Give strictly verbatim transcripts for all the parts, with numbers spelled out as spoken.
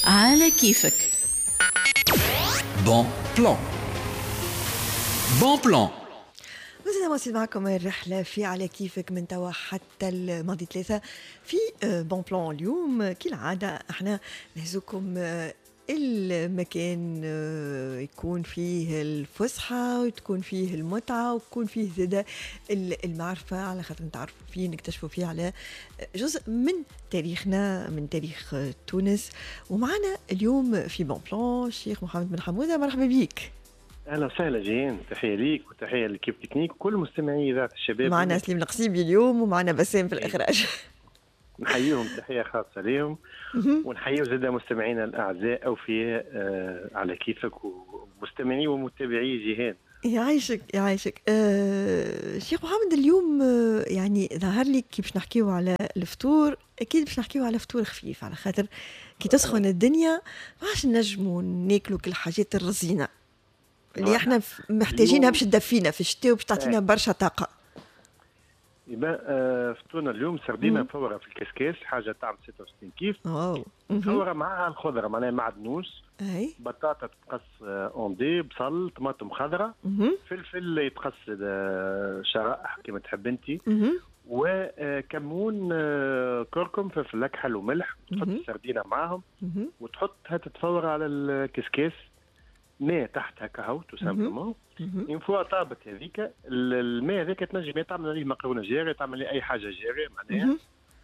على كيفك. bon plan، bon plan. مازلنا مواصلين معكم الرحلة في على كيفك من توا حتى الماضي ثلاثة في bon plan. اليوم كالعادة احنا نهزوكم المكان يكون فيه الفسحة وتكون فيه المتعة وتكون فيه زادة المعرفة، على خاطر نتعرفوا فيه، نكتشفوا فيه على جزء من تاريخنا، من تاريخ تونس. ومعنا اليوم في bon plan الشيخ محمد بن حمودة، مرحبا بك. اهلا وسهلا جيهان، تحية ليك وتحية ل l'équipe technique وكل مستمعي اذاعة الشباب. معنا سليم القصيبي اليوم ومعنا بسام في الاخراج. نحييهم تحية خاصة ليهم، ونحيي زاد مستمعينا الاعزاء اوفياء آه على كيفك ومستمعي ومتابعي جيهان. يعيشك يعيشك. أه شيخ محمد، اليوم آه، يعني ظهر لي كي باش نحكيو على الفطور، اكيد باش نحكيو على فطور خفيف، على خاطر كي تسخن الدنيا ما عادش نجموا ناكلوا كل الحاجات الرزينه اللي احنا محتاجينها باش تدفينا في الشتاء وباش تعطينا برشا طاقه. يبقى آه، فطورنا اليوم سردينه مفوره في الكسكاس، حاجة تعمل ستة وستين كيف. واو. مفوره معها الخضره، معناها معدنوس، اي بطاطا تتقص en dés، بصل، طماطم خضراء، فلفل يتقص آه، شرائح كما تحب انت، وكمون، آه، كركم، فلفل اكحل وملح. تحط السردينه معاهم وتحطها تتفور على الكسكاس، ماء تحتها كهو tout simplement. une fois طابت هذيك، الماء هذاك تنجم تعمل عليه مقرونة جاريه، تعمل عليه اي حاجة جارية معناها،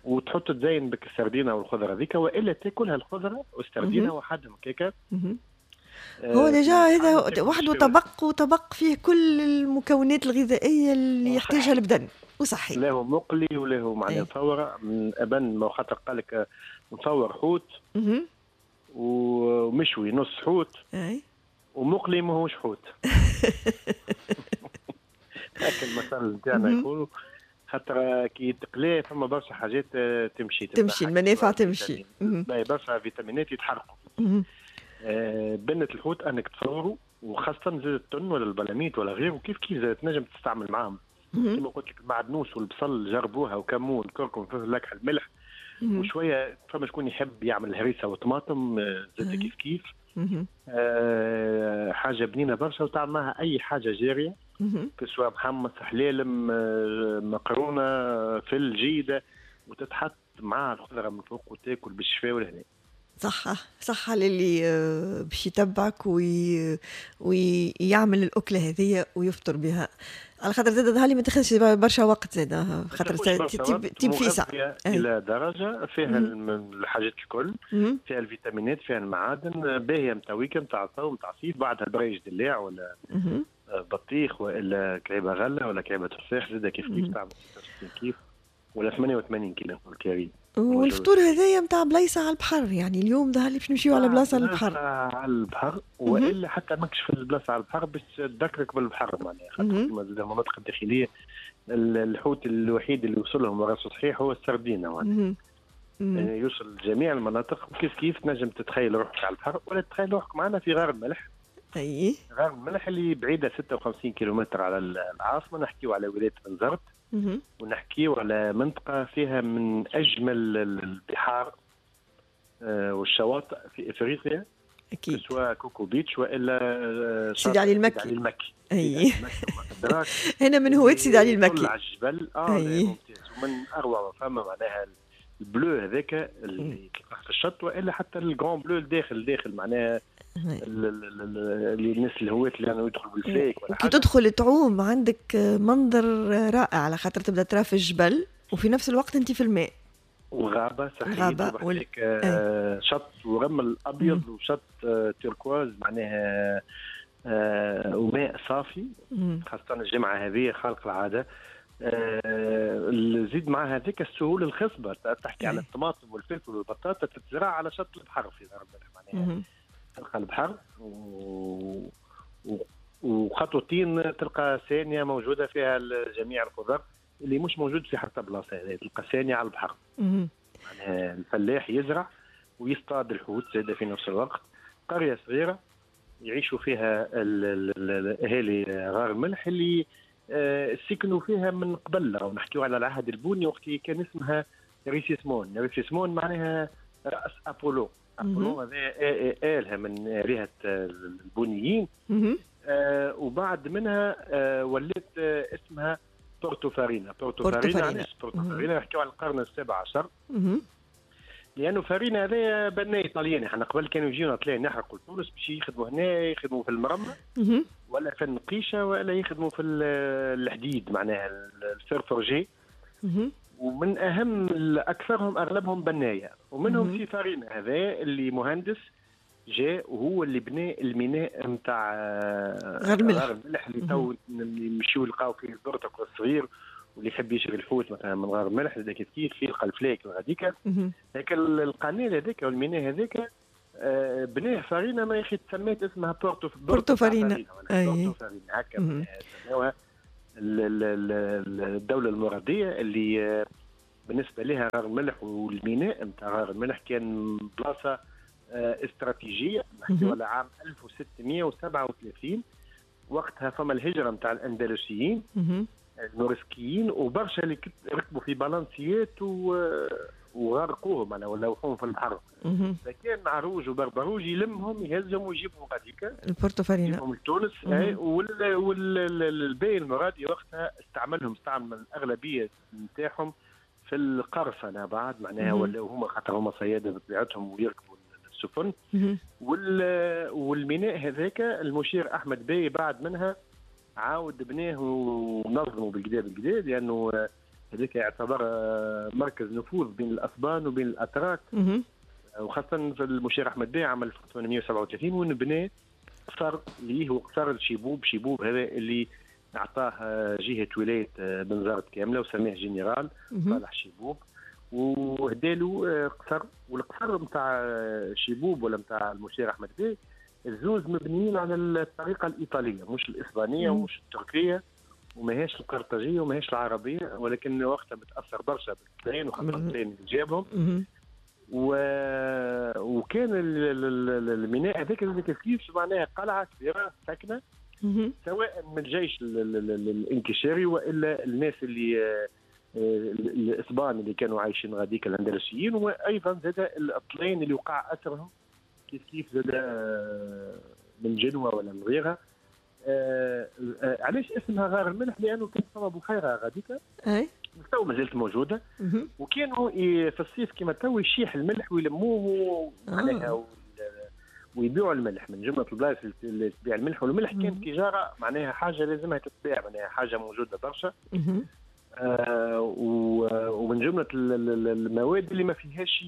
وتحط تزين بك السردينه والخضره هذيك، والا تاكلها الخضرة والسردينه وحدهم كيكه. هو déjà هذا وحده طبق، وطبق فيه كل المكونات الغذائية اللي يحتاجها البدن وصحي. لا هو مقلي ولا هو معناها مفوره، من ابن ما خاطر قال لك مفور حوت ومشوي نص حوت. اي ومقلي ماهوش حوت، هكا المثل نتاعنا يقولوا، خاطر كي تقليه فما برشا حاجات آه، تمشي. تمشي المنافع تمشي. برشا فيتامينات يتحرقوا. آه، بنة الحوت انك تفوروا، وخاصة زاد التن ولا البلاميت ولا غيره، كيف كيف زاد تنجم تستعمل معاهم كما قلت لك المعدنوس والبصل جربوها، وكمون، كركم، فلفل اكحل، ملح وشويه. فما شكون يحب يعمل هريسه وطماطم آه، زاد كيف كيف. آه حاجة بنينه برشا، وتعمل معها اي حاجة جاريه، سواء محمص، حلالم، آه، مقرونه، فل جيده، وتتحط مع الخضرة من فوق وتاكل بالشفاء والهنا. صحة صحة للي آه، باش يتبعك وي... ويعمل الأكلة هذه ويفطر بها، على خاطر زاد ظهر لي ما تاخذش برشا وقت زاد، خاطر تيب في ساعة. إلى درجة فيها الحاجات الكل، فيها الفيتامينات، فيها المعادن، باهية نتاع week-end، نتاع الصوم، نتاع الصيف. بعدها بريج دلاع ولا بطيخ والا كعيبه غله ولا كعيبه تفاح زاد كيف كيف، تعمل ستة وستين كيف ولا ثمانية وثمانين كيلو الكريم. والفطور هذايا نتاع بلايصه على البحر، يعني اليوم ظهر لي باش نمشيو على بلاصة على البحر. على البحر، والا حتى ماكش في البلاصة على البحر باش تذكرك بالبحر، معناها خاطر كيما المناطق الداخلية الحوت الوحيد اللي وصل لهم وراسه صحيح هو السردينه، معناها يعني يوصل لجميع المناطق. كيف كيف تنجم تتخيل روحك على البحر ولا تتخيل روحك معنا في غار الملح. اي غار الملح اللي بعيدة ستة وخمسين كيلومتر على العاصمه، نحكيو على ولاية بنزرت ونحكيو على منطقة فيها من اجمل البحار آه، والشواطئ في افريقيا. اكيد. سواء كوكو بيتش والا آه، سيدي علي المكي. سيدي علي المكي. اي، هنا من هواة سيدي علي المكي. على الجبل اه أي. ممتاز، ومن اروع ما فما معناها ال bleu هذاك اللي تلقاه في الشط، والا حتى ال grand bleu الداخل الداخل، معناها اللي الناس الهواة اللي يعني يدخلوا بالفلايك. وكي تدخل تعوم عندك منظر رائع، على خاطر تبدا ترى في الجبل وفي نفس الوقت انت في الماء. وغابه صحيح. غابه وال... آه شط ورمل ابيض وشط آه turquoise معناها آه وماء صافي، خاصة الجمعة هذه خارق العاده. آه زيد مع هذيك السهول الخصبه، تحكي على الطماطم والفلفل والبطاطا تتزرع على شط البحر في معناها تلقى البحر و... و... وخطوتين تلقى سانية موجودة فيها جميع الخضر اللي مش موجود في حتى بلاصة. هذه تلقى سانية على البحر، معناها الفلاح يزرع ويصطاد الحوت زاد في نفس الوقت. قرية صغيرة يعيشوا فيها الاهالي غار الملح اللي آه، سكنوا فيها من قبل، ونحكيو على العهد البوني وقت كان اسمها ريسيسمون. ريسيسمون معناها راس ابولو. ابولون هذا آلهة من آلهة البونيين. آه وبعد منها آه ولات آه اسمها بورتو فارينا. بورتو فارينا علاش بورتو فارينا؟ نحكيو على القرن السابع عشر، لانه فارينا هذا بناء طلياني. احنا قبل كانوا يجيونا طليان يحرقوا تونس باش يخدموا هنا، يخدموا في المرمى ولا في النقيشه ولا يخدموا في الحديد معناها ال fer forgé. ومن اهم اكثرهم اغلبهم بناية، ومنهم سي فارينا هذا اللي مهندس جاء وهو اللي بنى الميناء نتاع غار الملح، غار الملح اللي تو يمشيو يلقاو فيه البرتقال الصغير، واللي يحب يشري الحوت مثلا من غار الملح هذاك كيف كيف يلقى الفلاك غاديك. لكن القناة هذاك والميناء هذاك بناه فارينا، ما يخي تسميت اسمها بورتو بورتو فارينا. بورتو فارينا هكا سموها الدولة المراديه اللي بالنسبة لها غار الملح والميناء نتاع غار الملح كان بلاصة استراتيجية. نحكيو على عام ألف وستمائة وسبعة وثلاثين، وقتها فما الهجرة نتاع الاندلسيين الموريسكيين، وبرشا اللي ركبوا في بالانسيات وغرقوهم معناها ولوحوهم في البحر. فكان عروج وبربروج يلمهم يهزهم ويجيبهم غاديكا البورتو فارينا، يجيبهم لتونس. والباي المرادي وقتها استعملهم، استعمل الاغلبية نتاعهم في القرصنة بعد معناها، ولاو هما خاطر هما صياده بطبيعتهم ويركبوا السفن. والميناء هذاك المشير احمد باي بعد منها عاود بناه ونظمه بالكدا بالكدا، لانه هذاك يعتبر مركز نفوذ بين الاسبان وبين الاتراك، وخاصة في المشير احمد باي عام ألف وثمانمائة وسبعة وثلاثين ونبنى قصر ليه وقصر الشيبوب. شيبوب هذا اللي اعطاه جهة ولاية بنزرت كاملة وسميه جنرال صالح شيبوب، وهداله قصر. والقصر نتاع شيبوب ولا نتاع المشير احمد باي الزوز مبنيين على الطريقة الايطالية، مش الاسبانية ومش التركية وماهيش القرطاجيه وماهيش العربية، ولكن وقتها بتاثر برشا بالطليان وخاصة الطليان اللي جابهم. و... وكان الميناء هذاك كيف معناها قلعه كبيرة ساكنة، سواء من الجيش الانكشاري والا الناس اللي الاسبان اللي كانوا عايشين غاديك الاندلسيين، وايضا زاد الطليان اللي وقع اثرهم كيف كيف زاد من جنوة ولا من غيرها. آه آه علاش اسمها غار الملح؟ لانه كانت فما بحيرة غاديك اي تو مازالت موجودة، وكانوا في الصيف كما تو يشيح الملح ويلموه معناها آه. ويبيعوا الملح من جملة البلايص اللي تبيع الملح. والملح كان تجارة معناها حاجة لازمها تتباع، معناها حاجة موجودة برشا. آه ومن جملة المواد اللي ما فيهاش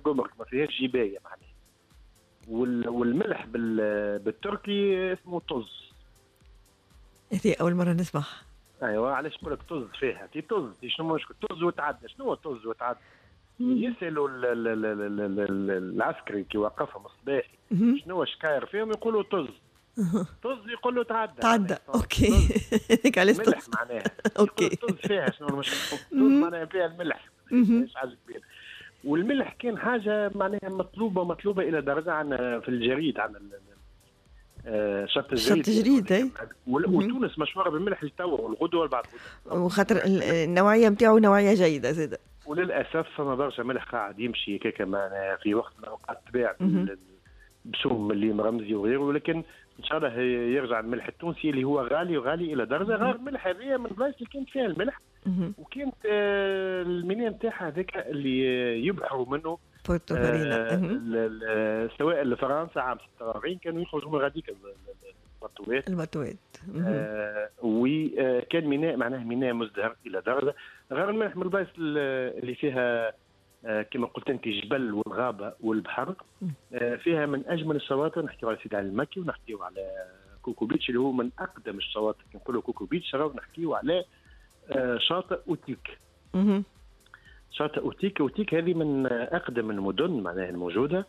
جمرك، ما فيهاش جبايه معناها. والملح بالتركي اسمه طز. هذه أول مرة نسمعها. أيوة علاش نقول لك طز فيها؟ تي طز شنو مشكل؟ طز وتعدى، شنو هو طز وتعدى؟ يسألوا العسكري كي وقفهم الصباحي شنو شكاير فيهم، يقولوا طز. طز يقول له تعدى. تعدى OK. هذيك علاش طز معناها. OK. طز فيها شنو المشكل؟ طز معناها فيها الملح، مش حاجة كبيرة. والملح كان حاجة معناها مطلوبة مطلوبة إلى درجة عن في الجريد، عن شط الجريد. شط الجريد اي. وتونس مشهورة بالملح للتو والغدوه والبعد غدوه، وخاطر النوعية نتاعو نوعية جيدة زاده. وللاسف فما برشا ملح قاعد يمشي كيكا معناها في وقت من الاوقات تباع بسوم مليم رمزي وغيره، ولكن ان شاء الله يرجع الملح التونسي اللي هو غالي وغالي الى درجه. غير الملح هذه من البلايص اللي كانت فيها الملح، وكانت الميناء نتاعها هذاك اللي يبحروا منه بورتو فارينا، سواء لفرنسا عام ستة وأربعين كانوا يخرجوا من غاديك البطوات البطوات آه وكان ميناء معناه ميناء مزدهر الى درجه. غير الملح من البلايص اللي فيها آه كما قلت انت الجبل والغابه والبحر، آه فيها من اجمل الشواطئ. نحكيو على سيدي علي المكي ونحكيو على كوكو بيتش اللي هو من اقدم الشواطئ. كي نقولوا كوكو بيتش راهو نحكيو على آه شاطئ اوتيك. شاطئ أوتيك، أوتيك هذه من أقدم المدن معناها الموجودة،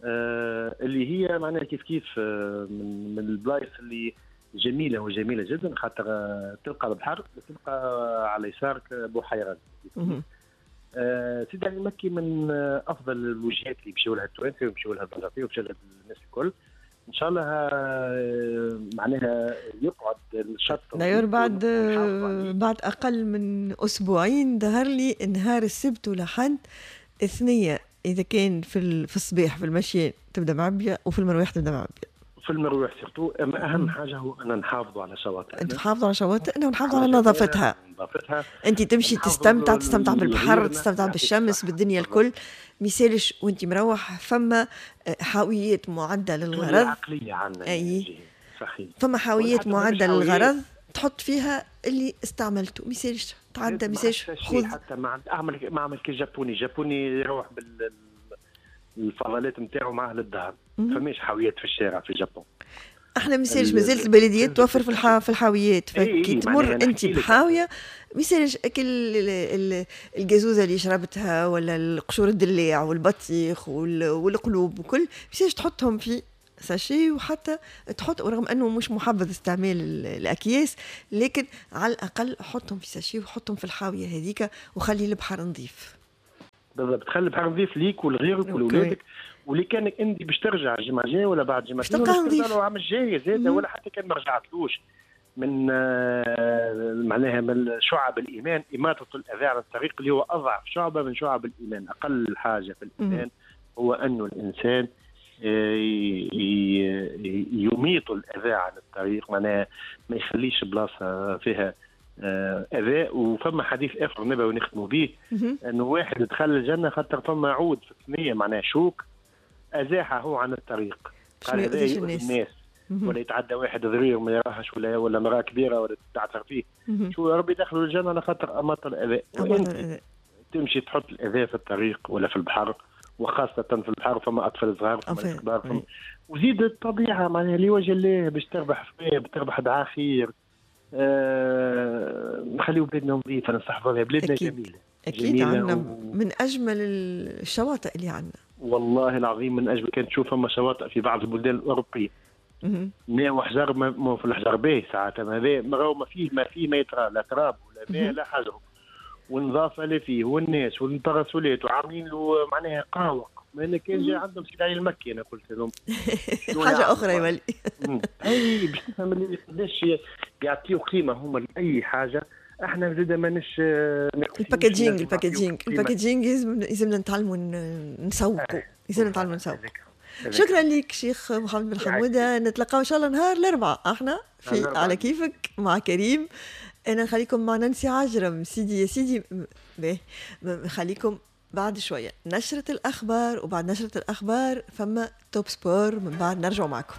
آه اللي هي معناها كيف كيف آه من, من البلايص اللي جميلة وجميلة جدا، خاطر آه تلقى البحر تلقى على يسارك بحيرة. آه سيدي علي المكي من آه أفضل الوجهات اللي يمشيو لها التوانسة ويمشيو لها البنزرتية ويمشيو لها الناس الكل. ان شاء الله معناها يقعد الشط داير بعد بعد اقل من اسبوعين. ظهر لي نهار السبت ولحد اثنية اذا كان في في الصباح في المشي تبدا معبيه، وفي المروح تبدا معبيه. في المروح surtout. اما اهم حاجة هو ان نحافظوا على شواطئنا، نحافظوا على شواطئنا ونحافظوا على نظافتها. نظافتها. انت تمشي تستمتع، تستمتع بالبحر، تستمتع بالشمس، بالدنيا الكل، ميسالش وانت مروح فما حاويات معده للغرض. العقلية عندنا. اي صحيح. فما حاويات معده للغرض تحط فيها اللي استعملته، ميسالش تعدى، ميسالش خذ. حتى ما اعمل ما اعمل كي جابوني، جابوني يروح بالفضلات نتاعو معاه للدار، فماش حاويات في الشارع في الجابون. احنا ميسالش مازالت البلديات توفر في الحا في الحاويات، فكي تمر انت بحاويه ميسالش اكل الجازوزه اللي شربتها ولا القشور الدلاع والبطيخ والقلوب وكل، ميسالش تحطهم في sachet، وحتى تحط، ورغم انه مش محبذ استعمال الاكياس، لكن على الاقل حطهم في sachet وحطهم في الحاويه هذيك وخلي البحر نظيف. بالضبط، خلي البحر نظيف ليك ولغيرك ولولادك، واللي كانك انت باش ترجع الجمعة الجاية ولا بعد جمعتين ولا نظيف العام الجاي زاد، ولا حتى كان ما رجعتلوش. من معناها من شعب الايمان اماطة الاذى عن الطريق، اللي هو اضعف شعبه من شعب الايمان. اقل حاجة في الايمان هو انه الانسان يميط الاذى عن الطريق، معناها ما يخليش بلاصة فيها اذى. وفما حديث اخر نبوي نختموا به، انه واحد دخل الجنة خاطر فما عود في الثنية، معناها شوك ازاحه عن الطريق، قال هذا يؤذي الناس، ولا يتعدى واحد ضرير ما يراهش، ولا ولا مراة كبيرة ولا تتعثر فيه. شو يا ربي دخلوا الجنة على خاطر اماط الاذى. وانت تمشي تحط الاذى في الطريق ولا في البحر، وخاصة في البحر فما أطفال صغار فما كبار، فما وزيد الطبيعة معناها لوجه الله باش تربح فيه، تربح دعاء خير. أه... نخليو بلادنا نظيفة، نستحفظوا عليها، بلادنا جميلة. أكيد عندنا و... من أجمل الشواطئ اللي عندنا والله العظيم، من أجمل. كانت تشوف فما شواطئ في بعض البلدان الأوروبية ماء وحجر، ما في الحجر باهي ساعات، هذا ما فيه ما فيه ما يترى لا تراب ولا ماء لا حجر، والنظافة اللي فيه والناس والباراسولات وعاملين له معناها قاوق. ما انا كان جاي عندهم سيد علي المكي، انا قلت لهم حاجة اخرى يولي. اي باش تفهم اللي قداش يعطيو قيمة هما لاي حاجة. احنا زاد ماناش ال packaging، ال packaging ال packaging لازمنا نتعلموا نسوقوا، لازمنا نتعلموا نسوقوا. شكرا لك شيخ محمد بن حموده، نتلقاو ان شاء الله نهار الاربعاء احنا في على كيفك مع كريم. انا نخليكم مع نانسي عجرم سيدي يا سيدي. باهي نخليكم بعد شوية نشره الاخبار، وبعد نشره الاخبار فما Top Sport، من بعد نرجع معكم.